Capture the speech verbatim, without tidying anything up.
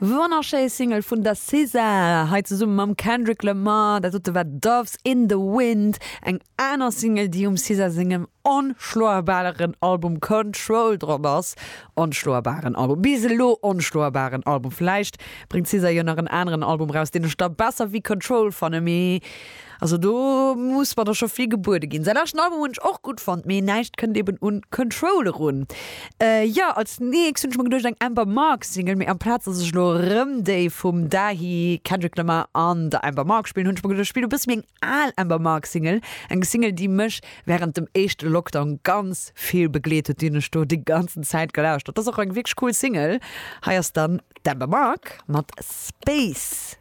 Wonnerschéi Single vun der SZA, hei zesumme mam Kendrick Lamar. Dat dote war Doves in the Wind, eng aner Single, déi um SZA sengem onschloebaren Album Control drop ass. Onschloebaren Album, bis elo onschloebaren Album. Vläicht bréngt d'SZA jo nach en aneren Album raus, deen ech da besser wéi Control fannen, mee also do muss mer da scho vill gebuede ginn. Säi leschten Album hunn ech och gutt fonnt, mee näischt kënnt eben un Control erun. Jo, als nächst hunn ech mer geduecht eng Amber Mark Single, mee amplaz dass ech elo erëm déi vum Dahi, Kendrick Lamar an der Amber Mark spillen, hunn ech mer geduecht ech spillen e bësse méi eng al Amber Mark Single, eng Single déi mech wärend dem éischte Lockdown ganz vill begleet huet, déi hunn ech do déi ganzen Zäit gelauschtert. Dat ass och eng wierklech cool Single. Hei ass dann d'Amber Mark mat Space.